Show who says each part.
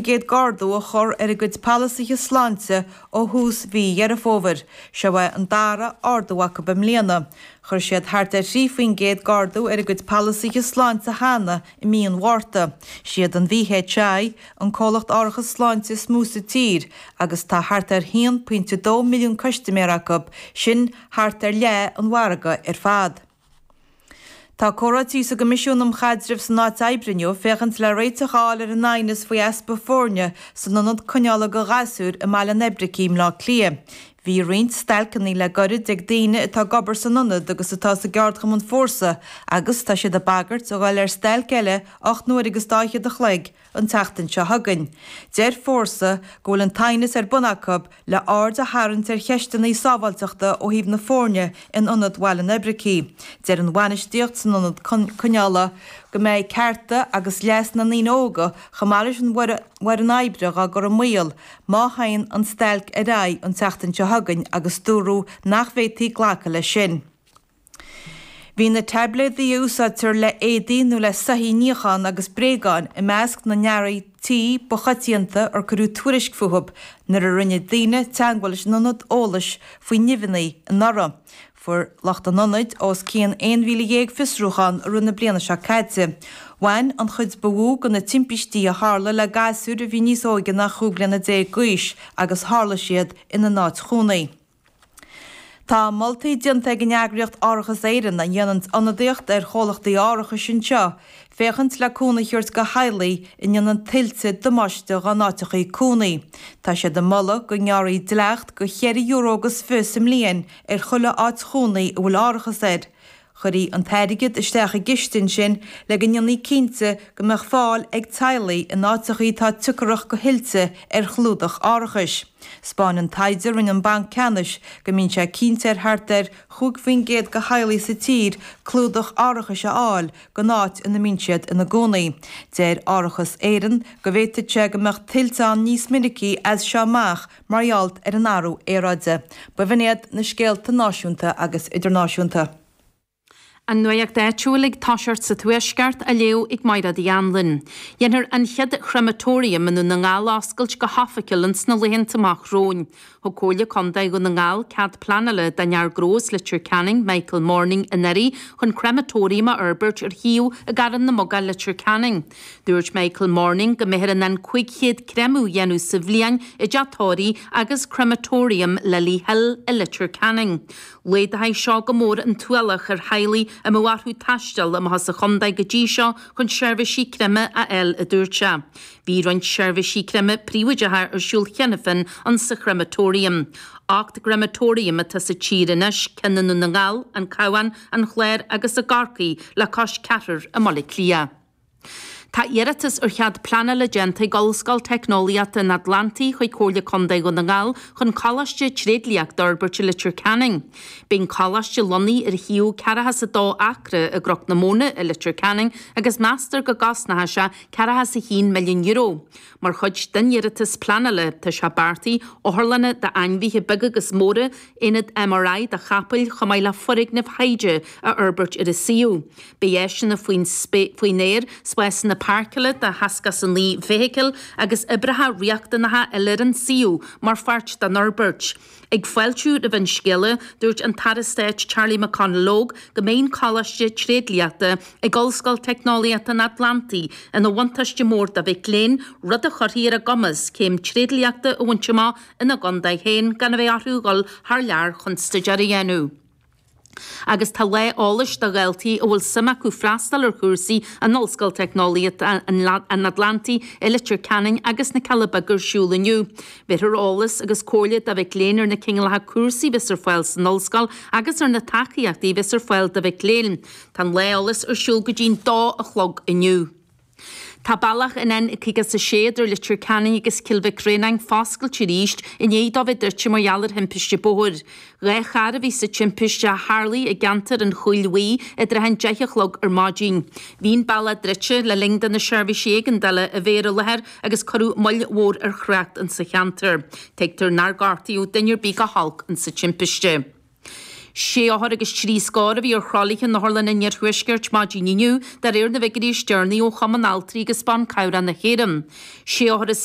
Speaker 1: gcéad d'ardú a chur ar a gcuid polasaithe sláinte ó thús mhí Dheireadh Fómhair. Seo é an dara ardú acu i mbliana. Chuir siad thart ar 3% d'ardú ar a gcuid polasaithe sláinte cheana i mí an Mhárta. Siad an VHI an comhlacht árachas sláinte is mó sa tír agus tá thart ar 1.2 milliún custaiméir acu, sin thart ar leath an mhargaidh ar fad. Tá comhráití sa gCoimisiún um Chaidreamh san Áit Oibre inniu féachaint le réiteach a fháil ar an aighneas faoi easpa foirne san ionad coinneála do ghasúir i mBaile an Oibricigh i mBleá Cliath. Bhí roinnt stailceanna le goirid ag daoine atá ag obair san ionad agus atá sa gceardchumann Fórsa agus tá siad ag bagairt a dhul ar stailc eile 8 n-uaire agus dá fhichead a chloig an tseachtain seo chugainn. Deir Fórsa go bhfuil an t-aighneas ar bun acu le aird a tharraingt ar cheisteanna sábháilteachta ó thaobh na foirne in Ionad Bhaile an Oibricigh. Deir an bhainistíocht san ionad coinneála go mbeidh cearta agus leas na ndaoine óga chomh maith leis an bhfoireann oibre dhá gcur i mbaol má théann an stailc ar aghaidh an tseachtain seo chugainn agus dúradh nach bhféadfaí glacadh leis sin. Bhí na taibléadaí a úsáidtear le éadaí nó le soithí a níochán agus bréagáin i measc na n-earraí tí ba choitianta ar cuireadh tuairisc fúthu nuair a rinne daoine teagmháil leis an ionad eolais faoi nimheanna anuraidh. Fuair lucht an ionaid os cionn 11,000 fiosrúchán i rith na bliana seo caite. Bhain an chuid ba mhó de na timpistí a tharla le gasúir a bhí níos óige ná 15 bliana d'aois agus tharla siad ina n-áit chónaí. Tá moltaí déanta ag an eagraíocht Árachas Éireann, a dhéanann ionadaíocht ar chomhlachtaí árachais anseo, féachaint le cúnamh a thabhairt do theaghlaigh a ndéanann tuilte damáiste dá n-áiteachaí cónaí. Tá siad ag moladh go ngearrfaí dleacht de cheithre euro agus fiche sa mbliain ar chuile áit chónaí a bhfuil árachas air. Chuirfí an t-airgead isteach i gciste ansin le go ndéanfaí cinnte go mbeadh fáil ag teaghlaigh in áiteachaí atá siocarach do thuilte ar chlúdach árachais. 'Spáineann taighde a rinne an Banc Ceannais go mbíonn sé cinnte ar thart ar 5% de theaghlaigh sa tír clúdach árachais a fháil don áit ina mbíonn siad ina gcónaí. Deir Árachas Éireann go bhféadfadh sé go mbeadh tuilte ann níos minicí as seo amach mar gheall ar an athrú aeráide. B'in iad na scéalta náisiúnta agus idirnáisiúnta.
Speaker 2: An nuacht áitiúil ag toiseacht sa Tuaisceart á léamh ag Máire Uí Anluain. Dhéanfar an chéad chrematorium i nDún na nGall a oscailt go hoifigiúil ins na laethanta amach romhainn. Thug Comhairle Contae Dhún na nGall cead pleanála don fhear gnó as Leitir Ceanainn, Michael Morning, anuraidh chun crematorium a fhorbairt ar shuíomh i gCarn na Muc, Leitir Ceanainn. Dúirt Michael Morning go mbeifear in ann 500 creimeadh a dhéanamh sa bhliain i dteach tórraimh agus Crematorium Lily Hill i Leitir Ceanainn. Laghdóidh seo go mór an t-ualach ar theaghlaigh a mbeadh orthu taisteal amach as an chontae go dtí seo chun seirbhísí creimthe a fháil, a dúirt sé. Bhí roinnt seirbhísí creimthe príobháideacha ar siúl cheana féin in sa Chrematorium. 8 gcrematorium atá sa tír anois, ceann i nDún na nGall, an Cabhán, an Clár agus i gCorcaigh le cois ceathrar i mBaile Átha Cliath. Tá iarratas ar chead pleanála déanta ag Ollscoil Teicneolaíochta an Atlantaigh chuig Comhairle Contae Dhún na nGall chun coláiste tréidliachta a fhorbairt i Leitir Ceanainn. Beidh an coláiste lonnaithe ar shuíomh 42 acra i gCnoc na Móna i Leitir Ceanainn agus meastar go gcosnóidh sé €41 milliún. Mar chuid den iarratas pleanála, tá sé beartaithe otharlanna d'ainmhithe beaga agus móra, aonad MRI do chapaill chomh maith le foirgnimh thaighde a fhorbairt ar an suíomh. Beidh áiseanna faoin faoin aer, spásanna páirceála do 69 feithicil agus oibreacha riachtanacha eile ar an suíomh mar pháirt den fhorbairt. Ag fáiltiú roimh an scéala, dúirt an tAire Stáit Charlie McConalogue go mbeidh an Coláiste Tréidliachta ag Ollscoil Teicneolaíochta an Atlantaigh ina bhuntáiste mór do mhic léinn, rud a chuirfidh ar a gcumas céim tréidliachta a bhaint amach ina gcontae féin gan a bheith orthu dhul thar lear chun staidéar a dhéanamh. Agus tá lá eolais do dhaltaí a bhfuil suim acu freastal ar chúrsaí in Ollscoil Teicneolaíochta an Atlantaigh i Leitir Ceanainn agus na Cealla Beaga ar siúl inniu. Bhéarfar eolas agus comhairle do mhic léinn ar na cineálacha cúrsaí a bheas ar fáil san ollscoil agus ar na tacaíochtaí a bheas ar fáil do mhic léinn. Tá an lá eolais ar siúl go dtí'n dó a chlog inniu. Tá bealach an N56 idir Leitir Ceanainn agus Cill Mhic Réanáin foscailte arís i ndiaidh dó bheith druidte mar gheall ar thimpiste bóthair. 2 charr a bhí sa timpiste a tharlaigh i gceantar an Chúil Bhuí i dtrátha an 10 a chlog ar maidin. Bhí an bealach druidte le linn do na seirbhísí éigeandála a bheith ar an láthair agus cuireadh moill mhór ar thrácht insa cheantar. Tuigtear nár gortaíodh duine ar bith go holc insa timpiste. Sé othar agus trí scór a bhí ar throlaithe in Otharlann an Iarthuaiscirt maidin inniu, de réir na bhfigiúirí is deireanaí ó Chumann Altraí agus Ban Cabhrach na hÉireann. Sé othar is.